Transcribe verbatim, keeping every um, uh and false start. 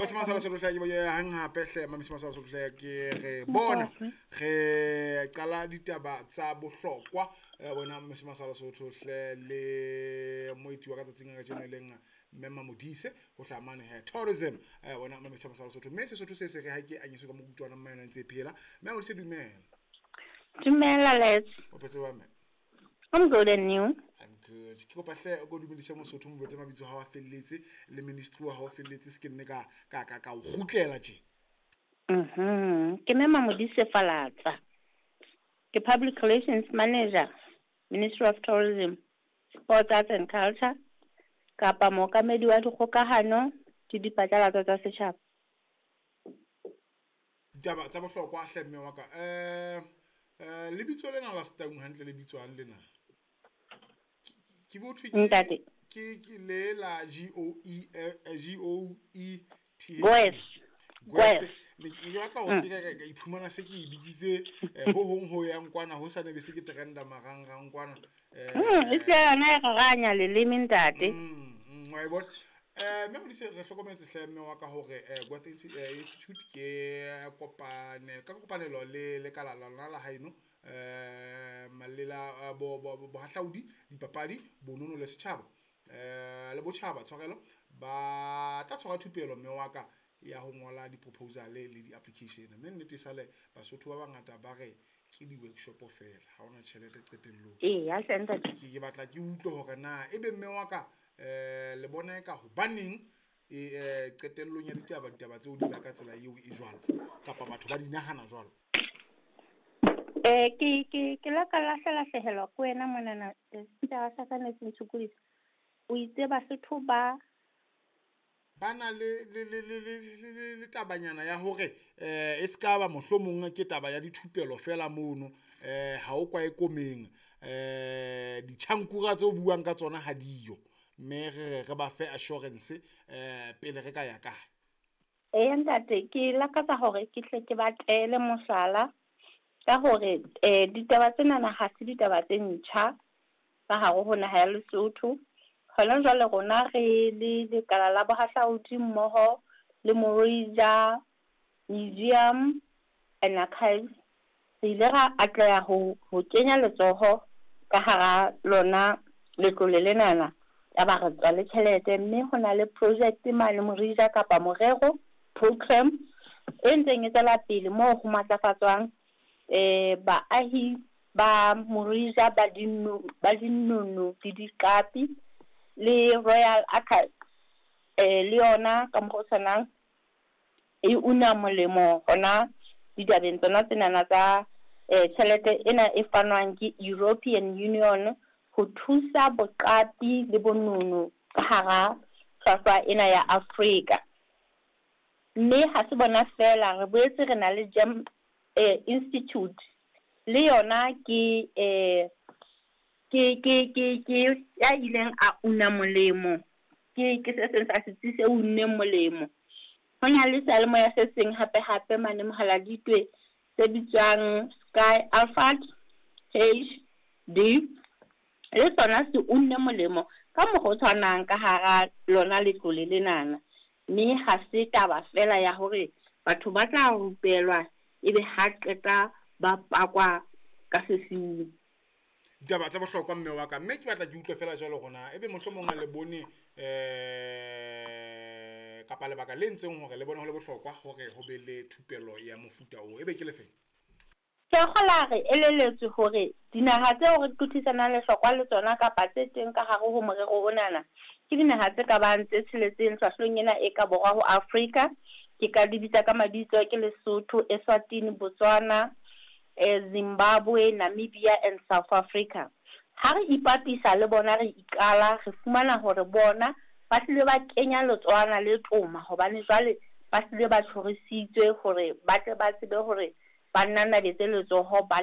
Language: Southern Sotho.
Masala Sotho ke boye hang hape hle Mamisi Masala Sotho ke re bona re qala ditaba tsa bohlokwa bona Mamisi Masala Sotho hle le moeti wa ka tsatsing ka tjena leng Mme Mamodise ho hlaha mane he tourism bona Mamisi Masala Sotho mme Sesotho se se re ha ke anyiswe ka mokutwana mma yona ntse phela. Mme Mamodise dumela. Dumela Les. O phetse wa mme? I'm good and you? I'm good. Ke kopa hle o go dumedise Mosotho mo botse mabitso ha wa felletse le ministry wa ha o felletse se ke nne ka ka ka ka o kgutlela tje. Mhm. Ke Mme Mamodise Falatsa. Ke Public Relations Manager, Ministry of Tourism, Sports, Arts and Culture, kapa mookamedi wa dikgokahano le diphatlalatso tsa setjhaba. Ditaba tsa bohlokwa hle mme wa ka. Eh eh lebitso lena la Setaung hantle le bitswang lena. Ke botho Ntate. Ke ke le la G O E G O E T H. Goethe. Goethe. Ne ke batla ho se ka ka iphumana se ke e bitsitse ho hong ho yang kwana ho sa ne be se ke trenda marangrang kwana. Eh e se yona e raranya leleme ntate. Mm wa e bona. Eh mme Modise re hlokometse hle mme wa ka hore Goethe Institute ke kopane ka kopanelo le lekala la lona la haeno eh malela bo bohahlaudi dipapadi bonono le setjhaba eh le botjhaba tshwarelo ba tla tshwara thupelo mme wa ka ya ho ngola di-proposal le di-application mme nnete sale Basotho ba bangata ba re ke di-workshop fela ha hona tjhelete qetellong. Ee ya hle ntate. Ke batla ke utlwe hore na ebe mme wa ka eh le bona ka hobaneng e qetellong ya ditaba ditaba tseo di ba ka tsela eo e jwalo kapa batho ba di nahana jwalo. Eh ke ke ke la ka lahlela hlehelo ko wena monana setjhaba sa ka ne se ntshokodisa. O itse Basotho ba bana le le le le le le tabanyana ya hore eh e ska ba mohlomong ke taba ya dithupelo fela mono eh ha o kwa e komeng eh ditjhankura tse o buang ka tsona ha diyo mme re re ba fe assurance eh pele re ka ya kae. Eh ntate ke lakatsa hore ke tle ke ba tele mohlala ka hore eh ditaba tsena na ha se ditaba tse ntjha ka hare ho naha ya Lesotho. Hona jwale rona re le lekala la bohahlaudi mmoho le Morija Museum and Archives re ile ra atleha ho ho kenya letsoho ka hara lona letlole lenana ya ba re tswa le tjhelete mme ho na le project mane Morija kapa morero program e ntseng e tswela pele moo ho matlafatswang eh baahi ba Morija ba dino ba dinono le diqapi le Royal Archives eh le yona ka mokgwa o tshwanang e una molemo hona ditabeng tsona tsenana tsa eh tjhelete ena e fanwang ke European Union ho thusa boqapi le bonono ka hara hlwahlwa ena ya Afrika. Mme ha se bona fela re boetse re na le Gem eh, Institute le yona ke eh ke ke ke ke ya ileng a una molemo ke ke se seng sa setsi se unneng molemo. Ho na le seyalemoya se seng hape hape mane Mohaladitwe se bitswang Sky Alphard H D le sona se unne molemo ka mokgwa o tshwanang ka hara lona letlole lenana. Mme ha se taba fela ya hore batho ba tla rupelwa ebe ha qeta ba pakwa ka sesiung. Ditaba tsa bohlokwa mme wa ka mme ke batla ke utlwe fela jwalo rona ebe mohlomong le bone eh kapa lebaka le ntseng hore le bone ho le bohlokwa hore ho be le thupelo ya mofuta o ebe ke lefeng. Ke kgola re eleletswe hore dinaha tseo re qothisanang lehlokwa le tsona kapa tse teng ka hare ho morero onana ke dinaha tse ka bang tse tsheletseng hlwahlweng ena e ka borwa ho Afrika. Ke ka di bitsa ka mabitso ke Lesotho, Eswatini, Botswana, eh, Zimbabwe, Namibia and South Africa. Ha re ipapisa le bona re iqala re fumana hore bona ba hlile ba kenya letsohwana le toma hobane jwale ba hlile ba tjhorisitswe hore ba tle ba tsebe hore ba nanabetse letsoho ba